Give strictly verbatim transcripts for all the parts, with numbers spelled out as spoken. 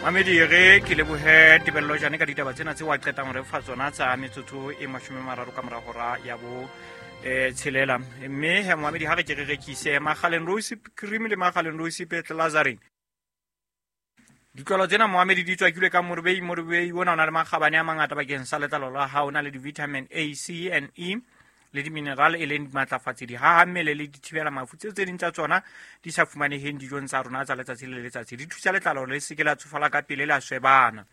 Mamedi re ke lebohe Tebello Jane ka ditaba tsena tse wa qetang re fa tsona tsa metsotso e mashome a mararo ka mora hora ya bo eh tshelela. Mme he Mamedi ha re ke re rekise Makgaleng Rose Cream le Makgaleng Rose Petlazarin. Ditlolo tsena Mohamedi di tswakilwe ka morobei. Morobei ona o na le makgabane a mangata bakeng sa letlalo la hao, o na le di-vitamin A, C and E le di-mineral e leng dimatlafatsi, di haha mmele le di thibela mafu. Tseo tse ding tsa tsona di sa fumaneheng dijong tsa rona tsa letsatsi le letsatsi, di thusa letlalo le se ke la tsofala ka pele, la swebana,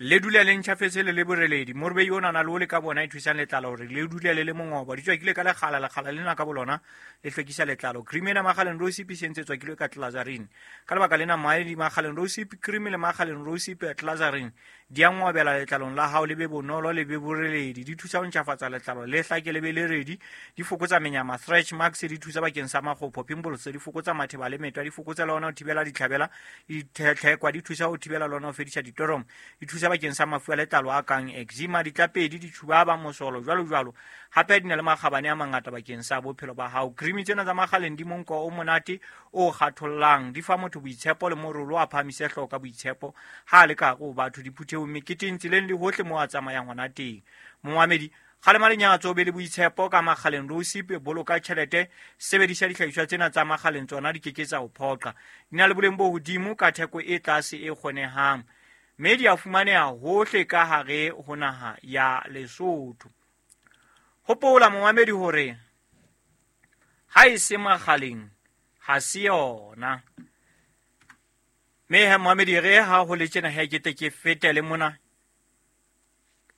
le dule le ntjhafetse le le boreledi. Morobei ona o na le ole ka bona e thusang letlalo hore le dule le le mongobo. Di tswakilwe ka lekgala, lekgala lena ka bolona le hlwekisa letlalo. Cream ena Makgaleng Rose e sentse tswakilwe ka Tlazarin. Ka lebaka lena maedi Makgaleng Rose Cream le Makgaleng Rose Tlazarin di a ngobela letlalong la hao, le be bonolo le be boreledi. Di thusa ho ntjhafatsa letlalo le hlake le be le redi. Di fokotsa menyama, stretch marks, di thusa bakeng sa makgopho, pimples, di fokotsa matheba le metwa, di fokotsa le hona ho thibela ditlhabela, ditlhekwa, di thusa ho thibela le hona ho fedisa ditoromo, di thusa bakeng sa mafu a letlalo a kang eczema, ditlapedi, ditjhubaba, mosolo, jwalo jwalo. Hape di na le makgabane a mangata bakeng sa bophelo ba hao. Cream tsena tsa Makgaleng di monko o monate o kgathollang, di fa motho boitshepo le morolo a phahamise hlooho ka boitshepo ha a le ka hare ho batho, diphuthehong, meketeng, tseleng le hohle moo a tsamayang hona teng. Moamedi kgalema lenyatso, be le boitshepo ka Makgaleng Rose, boloka tjhelete, sebedisa dihlahiswa tsena tsa Makgaleng, tsona di ke ke tsa o phoqa. Di na le boleng bo hodimo ka theko e tlase e kgonehang, mme di a fumaneha hohle ka hare ho naha ya Lesotho. Hopola momamedi hore ha e se Makgaleng ha se yona. Mme he momamedi re ha ho le tjena he ke tle ke fetele mona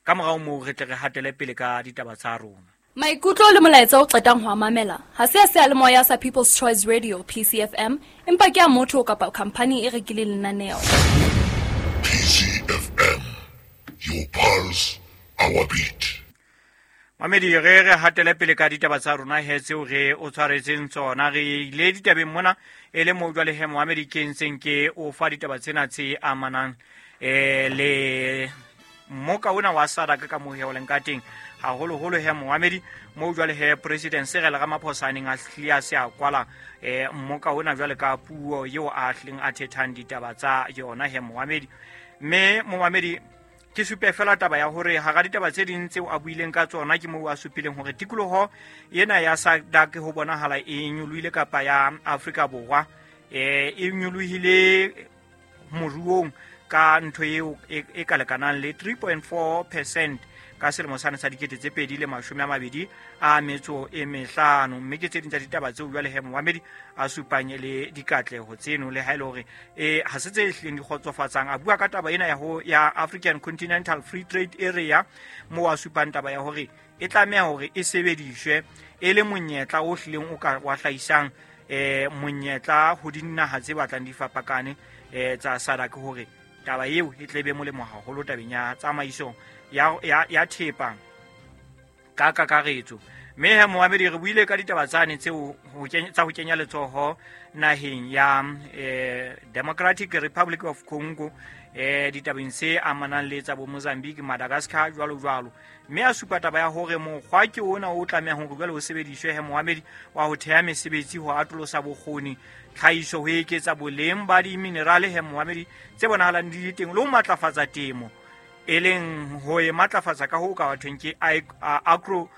ka morao moo re tle re hatele pele ka ditaba tsa rona. Maikutlo le molaetsa o qetang ho a mamela ha se a seyalemoya sa People's Choice Radio P C F M, empa ke a motho kapa khampani e rekileng lenaneo. P C F M, your pulse, our beat. Mamedi re re hatele pele ka ditaba tsa rona he tseo re o tshwaretseng tsona. Re ile ditabeng mona e le moo jwale he Mohamedi ke ntseng ke o fa ditaba tsena tse amanang eh le mmoka ona wa SADC ka moo he o leng ka teng, haholoholo he Mohamedi moo jwale he President Cyril Ramaphosa a neng a hlile a se a kwala eh mmoka ona jwale ka puo eo a hlileng a thethang ditaba tsa yona he Mohamedi. Mme Mohamedi ke supe fela taba ya hore hara ditaba tse ding tseo a buileng ka tsona ke moo a supileng hore tikoloho ena ya SADC ho bonahala e nyolohile kapa ya Afrika Borwa eh e nyolohile moruong ka ntho eo e ka lekanang le three point four percent ka selemo sane sa dikete tse pedi le mashome a mabedi a metso e mehlano. Mme ke tse ding tsa ditaba tseo jwale he Mohamedi a supang le dikatleho tseno, le ha e le hore eh ha se tse hlileng di kgotsofatsang. A bua ka taba ena ya ho ya African Continental Free Trade Area moo a supang taba ya hore e tlameha hore e sebediswe e le monyetla o hlileng o ka wa hlahisang eh monyetla ho dinaha tse batlang di fapakane eh tsa SADC, hore taba eo e tle be molemo haholo tabeng ya tsamaiso ya ya ya thepa ka kakaretso. Mme he Mohamedi re buile ka ditaba tsane tseo ho kenya tsa ho kenya letsoho naheng ya eh Democratic Republic of Congo eh ditabeng tse amanang le tsa bo Mozambique, Madagascar jwalo jwalo. Mme a supa taba ya hore mokgwa ke ona o tlamehang hore jwale o sebediswe he Mohamedi wa ho theha mesebetsi, ho atolosa bokgoni, tlhahiso, ho eketsa boleng ba diminerale he Mohamedi tse bonahalang di le teng, le ho matlafatsa temo, e leng ho e matlafatsa ka ho ka bathong ke agro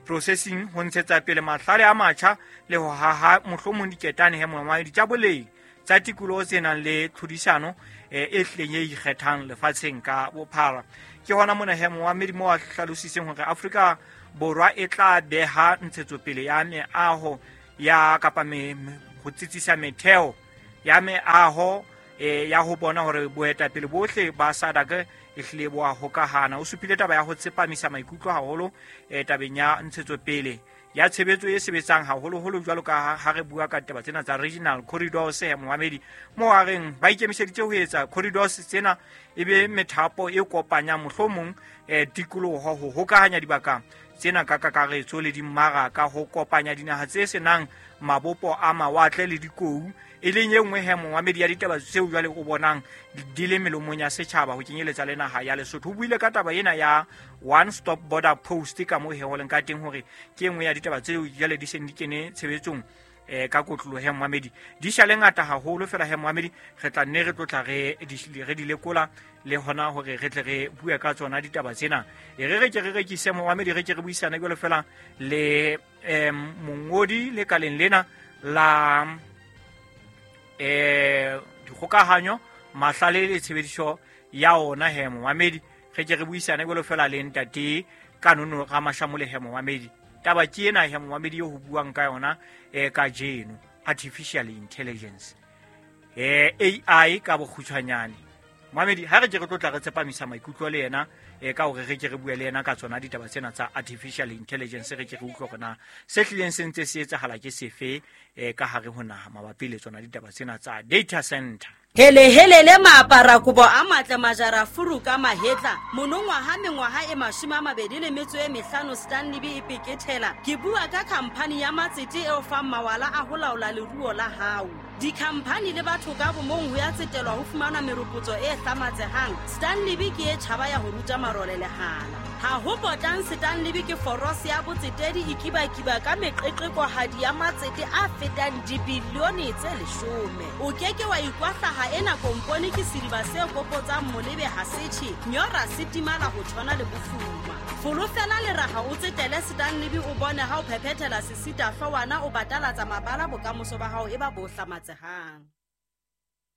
processing, ho ntshetsa pele mahlale a matjha le ho haha mohlomong diketane he Mohamedi tsa boleng tsa tikoloho tse nang le tlhodisano e hlileng e ikgethang lefatsheng ka bophara. Ke hona mona he Mohamedi moo a hlalositseng hore Afrika Borwa e tla beha ntshetsopele ya meaho ya kapa me ho tsitsisa metheo ya meaho e ya ho bona hore boetapele bohle ba SADC e hlile bo a hokahana. O supile taba ya ho tsepamisa maikutlo haholo e tabeng ya ntshetsopele ya tshebetso e sebetsang haholoholo jwalo ka ha re bua ka taba tsena tsa regional corridors he Mohamedi, moo a reng ba ikemiseditse ho etsa corridors tsena e be methapo e kopanyang mohlomong eh tikoloho, ho hokahanya dibaka tsena ka kakaretso le dimmaraka, ho kopanya dinaha tse senang mabopo a mawatle le dikou, e leng e nngwe he Mohamedi ya ditaba tseo jwale o bonang di le melomong ya setjhaba ho kenyeletsa le naha ya Lesotho. O buile ka taba ena ya one stop border post ka moo he ho leng ka teng hore ke e nngwe ya ditaba tseo jwale di seng di kene tshebetsong eh ka kotloloho he Mohamedi di shale ngata haholo fela he Mohamedi re tla nne re tlotla re re di lekola le hona hore re tle re bue ka tsona ditaba tsena. E re re ke re rekise Mohamedi re ke re buisana jwalo fela le em mongodi le kaleng lena la eh dikgokahanyo mahlale le tshebediso ya ona he Mohamedi re ke re buisana jwalo fela le ntate Kanono Ramashamole he Mohamedi. Taba ke ena he Mohamedi yo ho buang ka yona e ka jeno artificial intelligence eh A I ka bokgutshwanyane. Mohamedi ha re ke re tlotla re tsepamisa maikutlo le yena e ka hore re ke re bue le yena ka tsona ditaba tsena tsa artificial intelligence re ke re utlwe hore na se hlileng se ntse se etsahala ke sefe e ka hare ho naha mabapi le tsona ditaba tsena tsa data center. Hele hele le maapara kobo a matle majara furu ka mahetla monongwaha mengwaha e mashome a mabedi le metso e mehlano Stanley B e pekethela. Ke bua ka khamphani ya matsete eo fang mawala a ho laola leruo la hao. Dikhamphani le batho ka bomong ho ya tsetelwa ho fumana meropotso e hlamatsehang. Stanley B ke e tjhaba ya ho ruta marole lehala. Ha ho potang Stanley B ke forose ya botsetedi e kibakiba ka meqeqekohadi ya matsete a fetang dibilione tse leshome. O keke wa ikwahlaha ena kompone ke sediba se kopotsang molebe ha setjhe nyora se timala ho tshwana le bofuma. Folofela leraha o tsetele Stanley B o bone ha o phephethela sesita hloohwana o batalatsa mabala bokamoso ba hao e ba bo hlamatsehang.